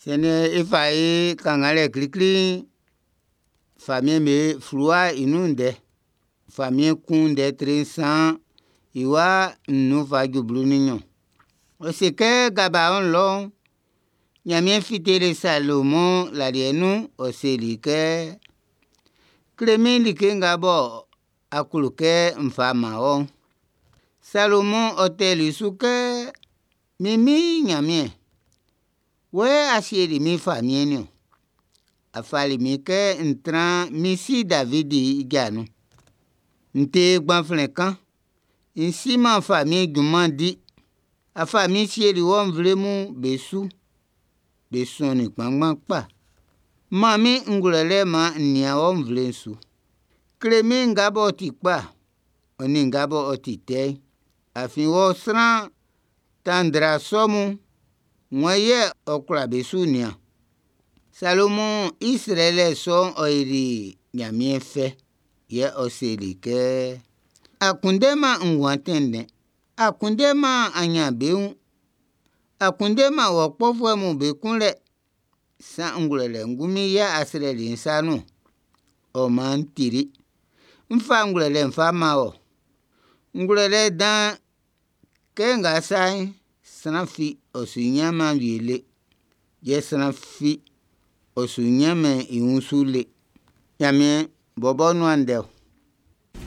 Siɛn'n e fa e kannganlɛ klikli'n, Famiɛn'm be fluwa'n i nun ndɛ. Famiɛn kun ndɛ tre 3 i wa 5 fa ju 12. Ɔ se kɛ Gabaɔn lɔ'n, Ɲanmiɛn fiteli Salomɔn laliɛ nun, ɔ seli i kɛ: “Kle min like nga bɔ a klo kɛ n fa man wɔ'n.” Salomɔn ɔ tɛli su kɛ: “Min Min Ɲanmiɛn, wɔ yɛ a sieli min famiɛn'n niɔn. A fali min kɛ n tran min si Davidi i ja nun. N ti gbanflɛn kan, n siman famiɛn junman'n di. A fa min sieli wɔ nvlefuɛ'm be su. Be sɔnnin kpanngban kpa. Man min ngwlɛlɛ maan n nian ɔ nvle'n su. Kle min nga b'ɔ ti kpa, ɔ nin nga b'ɔ ti tɛ'n. Afin wɔ sran tandra sɔ mun'n, wan yɛ ɔ kwla be su nian? Salomɔn i srɛlɛ sɔ'n ɔ yoli Ɲanmiɛn fɛ. Yɛ ɔ seli kɛ: “A kunndɛman nguan tɛnndɛn. A kunndɛman aɲanbeun. A kunndɛman wɔ kpɔfuɛ'm be kunlɛ. Sanngɛ ngwlɛlɛ ngunmin yɛ a srɛli n sa nun ɔn. Ɔ maan n tili. Ń fá ngwlɛlɛ ń fá mán wɔ. Ngwlɛlɛ dan kɛ nga sa'n, sran fi ɔ su ɲanman wie le. Yɛ sran fi ɔ su ɲɛnmɛn i wunsu le.” Ɲanmiɛn bɔbɔ nuan ndɛ ɔ.